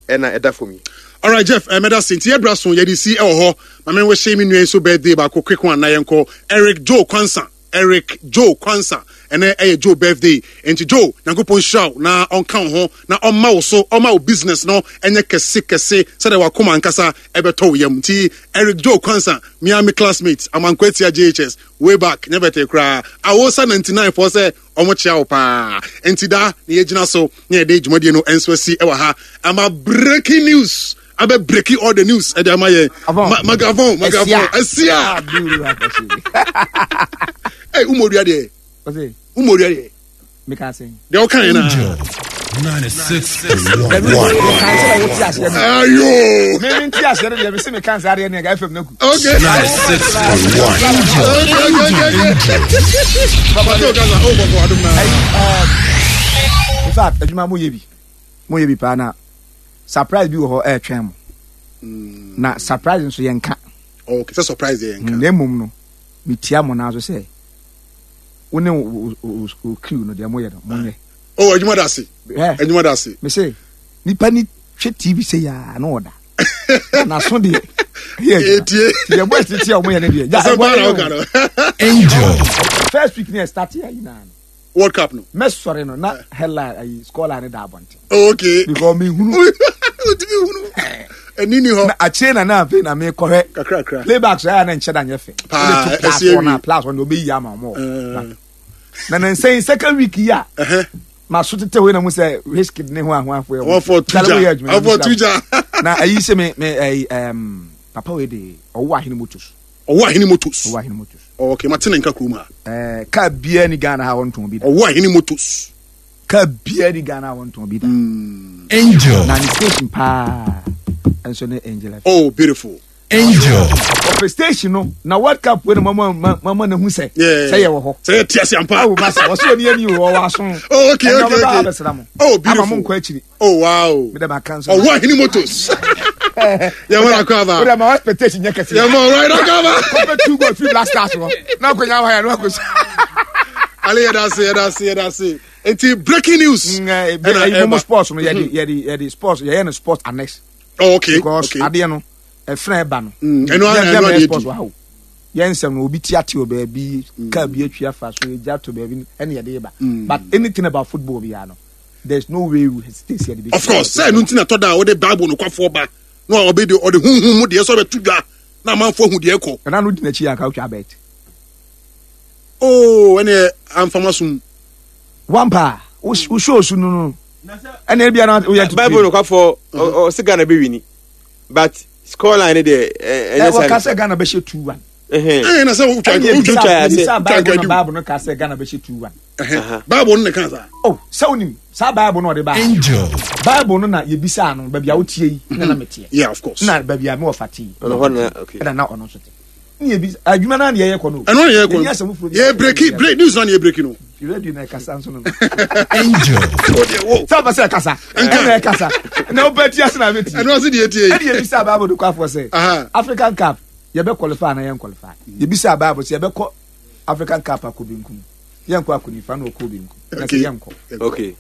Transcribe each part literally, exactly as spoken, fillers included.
Ɛna ɛda fam yi. Alright, Jeff, eh, mɛda se nti yɛbra so yɛde si ɛwɔ hɔ. Ma menwɔhyɛ me nua yi so birthday baako, quick one, na yɛnkɔ. Eric Joe Kwansa, Eric Joe Kwansa, ɛnɛ ɛyɛ Joe birthday. Nti Joe, Nyankopɔn nhyira wo na ɔnka wo ho na ɔmma wo so, ɔma wo business no ɛnyɛ kɛse kɛse sɛdeɛ wakoma ankasa ɛbɛtɔ wo yam. Nti Eric Joe Kwansa, mea me classmate, Amankwatia J H S way back, nyɛ bɛtɛ koraa, awosa ninety-nine foɔ sɛ ɔmo kyea wo paa. Nti da na yɛgyina so na yɛde dwumadie no nso asi ɛwɔ ha ama breaking news abɛ breaking all the news ɛde ama yɛn. Avon. Ma- magavon magavon. Ɛsia. Ɛsia ɛ umodua deɛ. Ɔsɛ umodua deɛ. Meka sɛn? Deɛ ɔka yɛn na Angel ninety-six point one. Meka sɛ na wote aseɛ no. Ayo. Me me nte aseɛ no deɛ, mese meka nsa adeɛ ne ɛga F M no ku. Okay. ninety-six point one. okay okay okay okay Papa tó kasa ó bọ̀ bọ̀ adum na. In fact, adwuma moyɛ bi, moyɛ bi paa, na surprise bi wɔ hɔ ɛɛtwɛn mo, na surprise nso yɛnka. Okay, sɛ surprise deɛ yɛn ka. Na mmom no, metia mo naa so sɛ wo ne wo- wo wo- wo crew no deɛ, moyɛ no, monyɛ. Oh, adwuma da ase. Ɛ, adwuma da ase. Me se nipa ni hwɛ T V sɛ yaa na ɔda na naso deɛ ɛyɛ adwuma. Etie. Nti deɛ boys tete a wɔyɛ no deɛ gya asɛm ɛbɔ paa na yɛ ɔka o. no. Angel. First week ne yɛ start yɛ nyinaa no, World Cup no. Mɛsɔre no na headline ayi, scoreline ne da abɔnten. Oh, okay. Because mehunu. Otumi hunu ɛni ni hɔ. Na akyire na na afei na mekɔhwɛ kakrakra. Playback so ɛyɛ na nkyɛn da nyɛ fɛ. Paa, wode to plus ɛsi one a awie. Plus one de ɔbɛyi ama ɔmo. Ɛɛ. Na na nsɛn second week yi a Ɛhɛ. ma so tete hɔ yi na mo sɛ Wizkid ne ho ahoafo yɛ. Wɔfɔ tuja, wɔfɔ tuja. Na ayi sɛ me me ayi ɛm papa wei de ɔwɔ Ahene Motors. Ɔwɔ Ahene Motors. Ɔwɔ Ahene Motors. Okay, ma tene nka kurom ha. Ɛɛ, kaa biara ni Ghana ha wɔntɔn bi da. Ɔwɔ Ahene Motors. Kaa biara ni Ghana ha wɔntɔn bi da. Angel. Na ne station paa nso ne Angel F M. Oh, beautiful. Angel. Ɔpɛ station no na World Cup wei na mama mama na hu sɛ Yeah. sɛ yɛ wɔ hɔ. Sɛ yɛ te ase ampa. Awo masa wɔsɛ oni ani wɔ wɔ aso. Oh, okay, Ɛnna okay, ɔbɛba okay. abɛsra mo. Oh, beautiful. Ama mo nkɔ akyiri. Oh, wow. Mi dɛ ma kan so. Ɔwɔ Ahene Motors, yɛ wɔn akɔ aba. O de ma expectation nyɛ kɛse. Yɛ mɔ right akɔ aba. Kɔfɛ two goal free Black Stars wɔ. Na akɔnya wa yɛ no akɔ so. Ale, yɛ da ase, yɛ da ase, yɛ da ase. Nti breaking news. Ɛna ɛna ɛyi mo ɛba. sports no, yɛde yɛde yɛde sports, yɛyɛ no sports annex. Oh, okay. Because okay adeɛ no ɛfrɛ ɛba no. Mm, ɛno ara- Yɛn- ɛno yɛn ara bɛyɛ deɛ sports di. wɔ ha o. Yɛn nsɛm no, obi ti ate wɔ baabi, kaa bi atwi afa so, egya to baabi, ɛna yɛde ba. But anything about football biara no, there is no way we hesitate sɛ yɛde bɛ. Of course, sɛ ɛno nti na tɔ da a wɔde Bible nokwafoɔ ba na ɔbɛ de ɔde huhum mu deɛ sɛ ɔbɛto dwa na amanfoɔ hu deɛ ɛkɔ. Ɛna no di n'akyi yɛ anka otwa bet. Oh, ɛne amfama som. Wampa wo show su no no ɛna ebi ana oyɛ. Bible no kwafɔ ɔsi Ghana bɛ win, but scoreline ne deɛ ɛ ɛnyɛ wɔka saa. sɛ Ghana bɛhyɛ two one. Ɛhɛn. Ɛyɛ na sɛ wotwa Ɛna wotwa ebisa ase. Ebisa wotwa Bible no nkadu. Bible no ka sɛ Ghana bɛhyɛ two one. Ɛhɛn. Bible no ne ka saa. Oh, sɛ onim saa Bible no ɔde ba. Angel. Bible no na yɛbisa no baabi a wotie yi na na meteɛ. Yeah, of course. Na baabi a me wɔfa te yi. Ɔno hɔ na okay. Ɛna na ɔno nso te. Ne yɛbisa adwuma no a na yɛyɛ kɔ no. Ɛno na yɛ Yɛni asɛm foforɔ kɔ bi. Yɛ breaking break news na yɛ breaking no. Radio na ɛkasa nso no. Angel. O deɛ wo. Sɛ ɔpɛ sɛ ɛkasa ɛna ɛkasa na wopɛ ti ase na bɛti. Ɛno ase deɛ tie. Ɛne yɛbisa Bible de kɔ afoɔ sɛ Aha. African Cup yɛbɛ qualify na yɛn qualify. Yɛbisa Bible sɛ yɛbɛkɔ African Cup akɔ benkum, yɛnkɔ akɔ nifa, na ɔkɔ benkum na sɛ Okay. yɛnkɔ. Okay.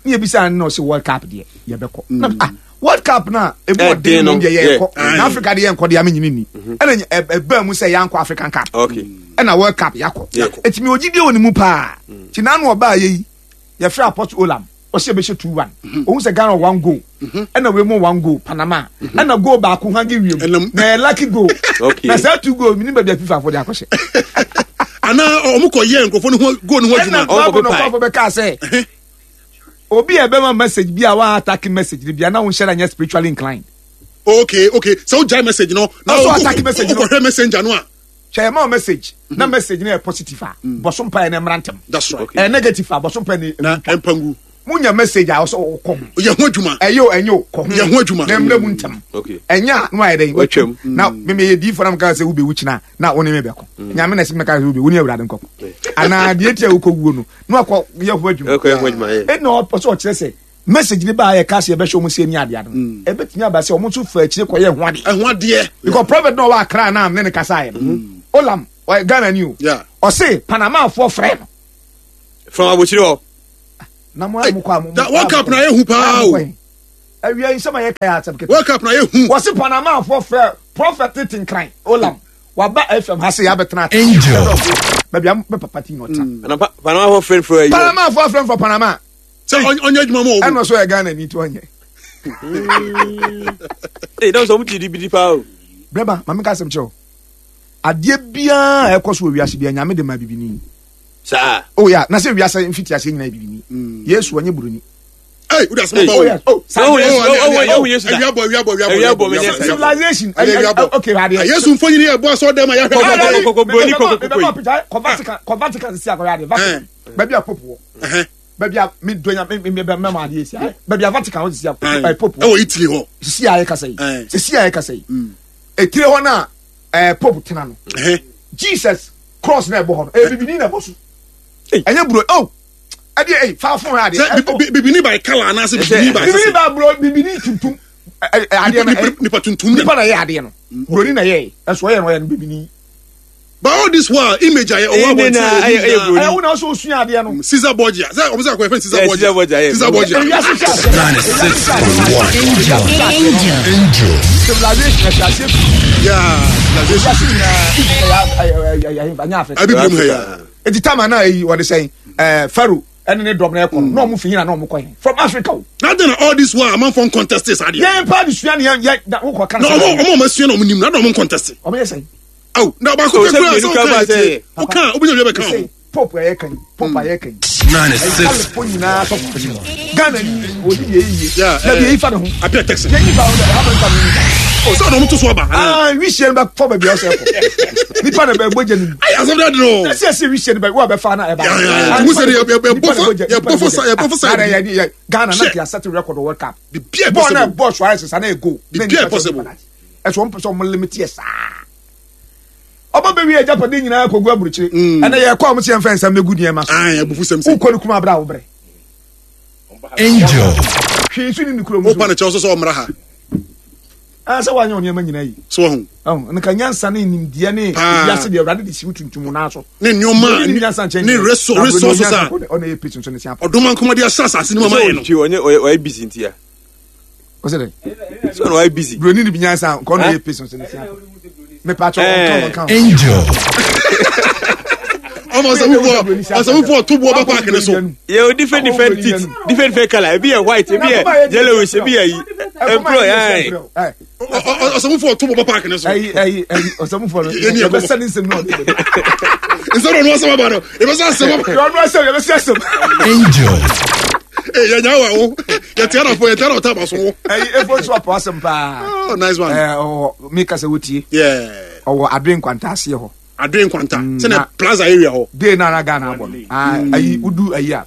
Ne yɛbisa no na ɔsɛ World Cup deɛ yɛbɛkɔ. Na ah, World Cup na ebi Ɛden ɔden no, no deɛ yɛnkɔ. yeah. Na Africa deɛ yɛnkɔ deɛ amenyini ni ɛna ny- ɛ- ɛbaa mu sɛ yɛankɔ African Cup. Okay. Ɛna World Cup yɛakɔ. Yeah. Ɛtumi ogyidie wɔ ne mu paa nti n'ano ɔbaa yɛ yi, yɛfrɛ Apostle Olam, ɔsɛ yɛbɛhyɛ two one. Ohun sɛ Ghana one goal ɛna wei mu one goal, Panama ɛna goal baako hangi wiem. Ɛnam- Na ɛyɛ lucky goal. Okay. Na saa two goal mi ni baabi a FIFA fo de akɔhyɛ. Anaa ɔmo kɔ yɛ nkurɔfoɔ no ho goal no ho Ɛna adwuma. Ɔmo Bible no kɔ kɔfo bɛka sɛ obi a ɛbɛma message bi a wa attack message ni bi a na wɔn nhyɛ da nyɛ spiritually inclined. okay okay sɛ wogyae message no na Ɔso wo- attack message no. wokɔhwɛ messenger no a. Hwɛ, yɛ ma wo message na message no yɛ positive a, bɔso mpa yɛ na ɛmmra ntɛm. That's right. Okay. Ɛyɛ negative a, bɔso mpa yɛ na na ɛmpangu. Munya message a ɔsɛ ɔkɔ ho. Yɛ ho adwuma. Ɛyɛ o, ɛnyɛ o, kɔ ho. Yɛ ho adwuma. Na mmerɛ mu ntɛm. Okay. Ɛnyɛ a, na wayɛ dɛn? Watwam. Na meme yɛ diifo na meka sɛ wobɛwu kyena na wo ne me bɛkɔ. Nyame na ɛsɛ meka sɛ wobɛwu ne Awurade nkɔkɔ anaa deɛ tia wokɔ wuo no na wakɔ yɛ ho adwuma. Okay, ho adwuma, yeah. Ɛna ɔpɛ sɛ ɔkyerɛ sɛ message ne baa yɛ ka sɛ yɛbɛhyɛ ɔmo sɛ ni adeɛ no, ɛbɛtumi aba sɛ ɔmo nso fa akyire kɔyɛ ho adeɛ. Ɛho adeɛ. Because prophet na ɔwɔ Akra na ne ne kasa yɛ no, Olam, ɔyɛ Ghana ni o. Yeah. Ɔse Panamafoɔ frɛ no. From abokyire hɔ. Na mo a mo kɔ a mo Da World Cup na yɛ hu paa o. Awia nsɛm a yɛka yɛ asɛm ketewa. World Cup na yɛ hu. Wɔsi Panama fo frɛ Prophet Tinkran Olam waba F M ha se yɛabɛtena ate. Angel. Baabi a me papa ti na ɔtena. Ana pa- Panama fo friend fro ayi. Panama fo afrɛ for Panama. Sɛ ɔny- ɔnyɛ adwuma ma Ɛna ɔmo. ɔsɔ yɛ Ghana ni ti ɔnyɛ. Ee, dɔn sɛ ɔmo ti di bi di paa o. Brɛba maame ka asɛm kyerɛ wo. Adeɛ biara a ɛkɔ so wɔ wiase biara Nyame de ma bibini. Saa. Oh yeah, na sɛ wiase mfiti aseɛ nyinaa yɛ bibini. Yesu ɔnyɛ buroni. Hey, wode asɛm aba Oh o. yes. Oh, saa Oh, deɛ- Yesu, Oh, oh, oh, awia oh, Yesu da. bɔ, awia bɔ, awia bɔ, Awia bɔ, awia menyɛ bɔ, saa. Civilization. Awia Ɛyɛ- bɔ. Okay, adeɛ. Ah, Yesu mfonyin yɛ bɔ asɔ dɛm a yɛahwɛ Kɔ- adeɛ. kɔ- kɔ- kɔ- broni, kɔ- kɔ- Mebɛma picture, kɔ Vatican, kɔ Vatican sisi akɔyɛ adeɛ. Vatican. Baabi a Pope wɔ. Ɛhɛn. Baabi a me donya me me me mɛma adeɛ si. Baabi a Vatican wɔ sisi a Ɛn. ɛ, Pope wɔ. Ɛwɔ Italy hɔ. Sisi a yɛkasa yi. Ɛn. Sisi a yɛkasa yi. Etire hɔ na ɛɛ Pope tena no. Ɛhɛn. Jesus cross na ɛbɔ hɔ no. Ɛyɛ bibini na ɛbɔ so. Ɛnyɛ buro. Oh, ɛdeɛ ɛyi fa phone adeɛ. Sɛ Ɛ, bi- oh, bi- bibini by colour anaasɛ bibini by Bibini ba buro bibini tuntum. Ɛ, ɛ, adeɛ no Nipa- ɛ, nipa tuntum na. nipa na ɛyɛ adeɛ no. Buroni na ɛyɛ. Ɛso ɔyɛ no ɔyɛ no bibini. But all this while image a yɛ ɔwɔ Ɛyɛ abɔnten na- a ɛyɛ- ɛyɛ yɛ broni. Ɛyɛ wo na ɔsɔ osua adeɛ no. Caesar Borgia. Sɛ ɔmo sɛ akɔyɛ fɛn Caesar Yeah, Borgia. Caesar Borgia, yeah. Caesar Borgia. Ewiase hyɛ aseɛ. ninety-six point one. Angel. Angel. Civilization ɛhyɛ aseɛ fi. Yeah, civilization. Ewiase nyinaa Egypt ɛyɛ ɛyɛ ɛyɛ ɛyɛ ɛnyɛ Africa. Abi binom ha ya. Eti time a na eyi wɔde sɛn ɛɛ Pharaoh ɛne ne dɔm na ɛkɔ no na ɔmo fi hin na na ɔmo kɔ hin from Africa o. Na then all this while amanfoɔ ncontest saa adeɛ. Yɛn pa de sua ne yɛn yɛn da wokɔ kan Na ɔmo ɔmo ɔmo asua na ɔmo nim na na ɔmo ncontest. ɔmo yɛ sɛn. Aw, na baako Oh, pɛ sɛ kura mmienu sɛ kura ɔka ba yɛ tie. sɛ- Ɔka obi nya bi bɛka Sɛ ho. Pope a yɛ kan Pope a yɛ kan. ninety-six Alifo nyinaa sɔfo panyin. Ghana ni odi yɛ yie. Yeah, Na bi eh, eyi fa ne ho. Apia Texan. Yɛn yi fa ho dɛ ha bɛ nfa ne ho. Oh, sɛ ɔno ɔmo to so aba. Aa wisie no bɛ fɔ baabi a ɔsɛ kɔ. Nipa na bɛ bɔ gya nim. Ayi asɛm dɛ duro. Ɛsɛ ɛsɛ wisie no bɛ wo a bɛ fa na ɛba. Yeah, yeah, yeah. Nti mo sɛ de yɛ- yɛ- yɛ bɔ fa- yɛ bɔ fa sa- yɛ bɔ fa side bi. Ghana na Hwɛ. ti asɛte record wɔ World Cup. Biribiara Bɔɔl na possible. bɔɔl Suarez sa na yɛ goal. Biribiara possible. Ɛsɛ wɔn pɛ sɛ wɔn limit yɛ saa. Ɔba bɛ wi agyapade nyinaa kɔ gu aburukyire. Ɛnna yɛ kɔ a wɔn si yɛn fɛn nsɛm bɛ gu nneɛma so. Ayi abufu sɛm sɛ. Wokɔ ne kuma abira a wobrɛ. Angel. Hwee nso ni ne kurom Wopa so. ne kyɛw so sɛ ɔmmra ha. Ah, sɛ woanyɛ wo nneɛma nyinaa yi. So wahu. Ɔn, nka nyansa ne nimdeɛ ne Paa. wiase deɛ Awurade de si wo tuntum naa so. Ne nneɛma Buroni ni nyansa nkyɛn ne deɛ. reso- Na buroni resources nyansa a kɔ de- ɔna yɛ pitch nso ne si apɔ. ɔdoma nkɔmɔde ahyɛ asase no mu ama yɛ no. Ɔtwi ɔnyɛ ɔyɛ ɔyɛ busy nti ya. Ɔsɛ dɛ. Sɛ ɔno ɔyɛ busy. Buroni ni bi nyansa nka ɔna yɛ pitch nso ne si apɔ. Mepa kyɛw, ɔnka, Eh. ɔnka. Angel. Ɔmo ɔsɛmufoɔ ɔsɛmufoɔ to boɔ bɛ paaki ne so. Yɛ o different different teeth, different different colour. Ebi yɛ white, ebi yɛ yellowish, ebi yɛ yi. Ɛmpro yɛn. Ɛyi Ɔ- ɔ- Ɔsɛmufoɔ to boɔ bɛ paaki ne so. ɛyi ɛyi ɔsɛmufoɔ no Yɛni ɛkɔmɔ. yɛbɛsɛ ne nsɛm na ɔde bɛba. Nsɛm na ɔno asɛm aba no. Ebɛsɛ asɛm aba. Ɔno asɛm yɛbɛsɛ asɛm. Angel. Ee yɛ nya wa wo. Yɛ tia na fo yɛ tia na ɔta ba so wo. Ɛyi efo nso apɔ asɛm paa. Oh, nice one. Ɛɛ ɔwɔ mi kasa wotie. Yeah. Ɔwɔ Adoe Nkwanta aseɛ hɔ. Adoe Nkwanta. Mm, Sɛ na- na plaza area hɔ. Day na na Ghana abɔ no. Ah, ayi udu ayi a.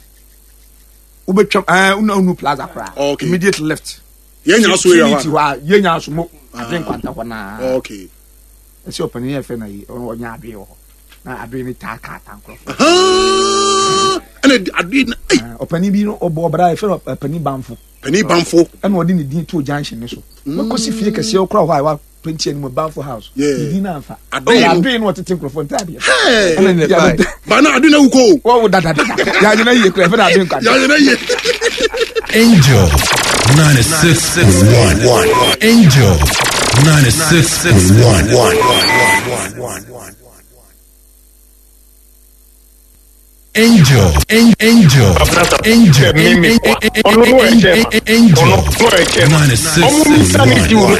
Wobɛtwam ɛɛ una unu plaza koraa. Okay. Immediate left. Yɛn nya so area Trinity hɔ. hɔ a yɛn nya so mo Adoe Nkwanta hɔ naa. Okay. Ɛsɛ ɔpanin yɛ fɛ na yi ɔno ɔnya Adoe wɔ hɔ. Na Adoe ne taa kaa ta nkorɔfo. Ah, ɛna Adoe na ei Ah, ɔpanin bi no ɔbɔ ɔbra yɛ fɛ no ɔpanin Banfo. Panin Banfo. Ɛna ɔde ne din to junction ne so. Wɔkɔsi fie kɛseɛ ɔkora hɔ a wa penti anim Banfo house. Yeah. Ne din na anfa. Adoe no. Adoe no ɔtete nkorɔfo ntaadeɛ. Hey. Ɛna ne Bye. Ba na Adoe na wukɔ o. Wɔwo dadadada. Yɛanyina yie kora yɛfɛ no Adoe Nkwanta. Yɛanyina yie. Angel. ninety-six point one. Angel. ninety-six point one. Angel. Angel. Angel. Angel. ninety-six point one.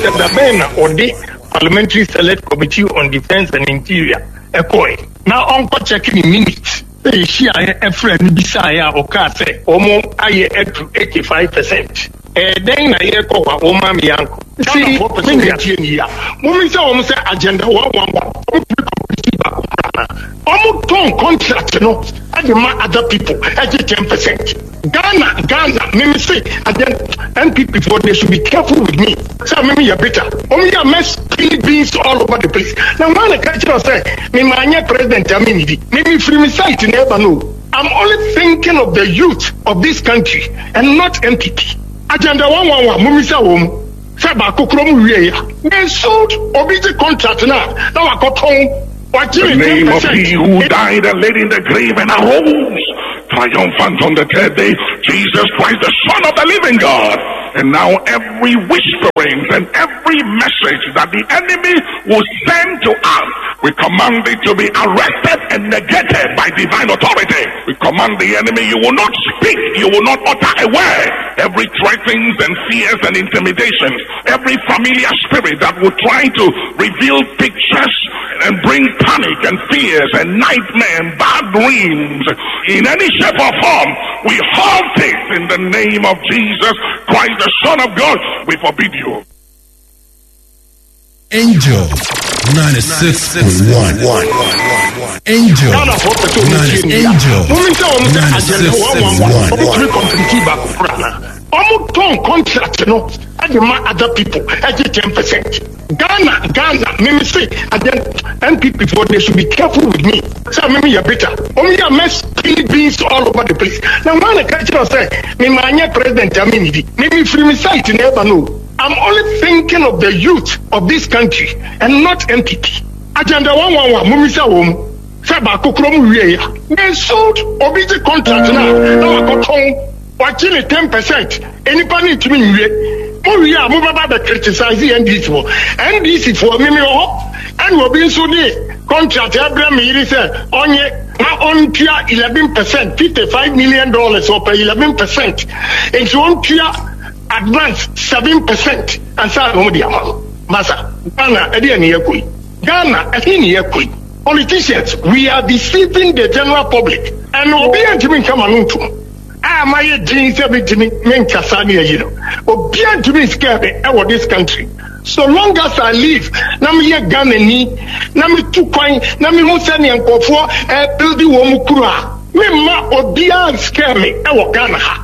Parliamentary Select Committee on Defence and Interior ɛkɔɛ na ɔnkɔ check ne minute sɛ yɛhyiaeɛ ɛfrɛ no bisaeɛ a ɔkaa sɛ ɔmo ayɛ adu eighty-five percent. Ɛɛ dɛn na yɛkɔ hɔ a wɔma me yankɔ si me nua tie ne yia momi sɛ wɔn sɛ agenda one one one ɔmo pere competition baako koraa na ɔmo tɔn contract no ɛde ma other people ɛgye ten percent. Ghana Ghana mimi se agenda N P P for they should be careful with me sɛ mimi yɛ bitter ɔmo yɛ mess spilling beans all over the place na wɔn a na ka kyerɛ sɛ mimi anyɛ president ami ni di mimi firi mi site na ɛba no. I'm only thinking of the youth of this country and not N P P. Agenda one one one mumi sɛ wɔn sɛ baako kuro mu wie ya they sold obi ti contract na na wakɔtɔn The name of he who died and laid in the grave and arose triumphant on the third day, Jesus Christ, the Son of the living God. And now every whisperings and every message that the enemy will send to us, we command it to be arrested and negated by divine authority. We command the enemy, you will not speak, you will not utter a word. Every threatenings and fears and intimidations, every familiar spirit that will try to reveal pictures and bring panic and fears and nightmare and bad dreams in any shape or form, we halt it in the name of Jesus Christ, the Son of God. We forbid you. Angel ninety-six point one. Angel Angel ninety-six point one. Ɔmo tɔn contract no ɛde ma other people ɛgye ten percent. Ghana Ghana mímí se agye N P P for, they should be careful with me sɛ mímí yɛ bitter. Ɔmo yɛ mess spill beans all over the place na wɔn a ka kyerɛ sɛ mímí anyɛ president ami nidi mímí firi mi site na ɛba no. I'm only thinking of the youth of this country and not N P P. Agenda one one one mímí sɛ wɔn sɛ baako kuro mu wie ya, they sold. Obi gye contract na na wakɔtɔn, wagye ne ten percent. Nipa ne ntumi nwie. Mo wie a, mo bɛba bɛ criticize N D C foɔ. N D C foɔ, mímí wɔ hɔ ɛna obi nso de contract ɛbrɛ mi yiri sɛ ɔnye na ɔntua eleven percent, fifty five million dollars. Ɔpɛ eleven percent, nti ɔntua advance seven percent ansa na ɔmo de ama no. Masa, Ghana, ɛde ɛni yɛ koyi. Ghana, ɛhe ni yɛ koyi? Politicians, we are deceiving the general public and obi yɛn ntumi nkama no ntum a ma yɛ din sɛ mi ntumi mi nkasa ne ayi no. Obiara ntumi scare me ɛwɔ this country. So long as I live na mi yɛ Ghana ni na mi tu kwan na mi hu sɛ nea nkɔfoɔ ɛbuild wɔn mu kuro a, mi ma obiara scare me ɛwɔ Ghana ha.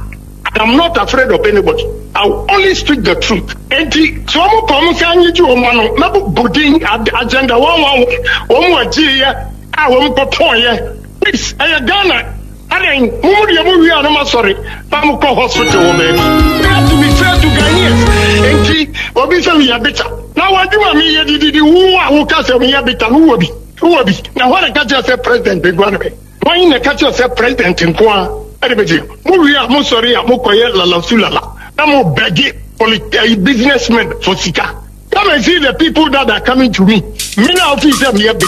I am not afraid of anybody. I will only speak the truth. Enti sɛ wɔn kɔ wɔn sɛ anyegye wɔn ano mɛbɔ din agenda one one one wɔn agye yɛ a wɔn kɔtɔn yɛ. Please, ɛyɛ Ghana adan mo mu deɛ mo wie a no ma sɔre na mo kɔ hospital wɔ baabi. We have to be fair to Ghanaians. Enti obi sɛ meyɛ bitter na wadwuma mi yɛ dididi wo a woka sɛ meyɛ bitter no, wɔ bi wɔ bi na hɔ na ka kyerɛ sɛ president bɛ gua no bɛ wɔn na ka kyerɛ sɛ president nko a ɛde bɛ gye mo wie a, mo sɔre a mo kɔyɛ lalasu lala na mo bɛgye politi businessmen for sika. Come and see the people that are coming to me. Me na ofi sɛ meyɛ bitter.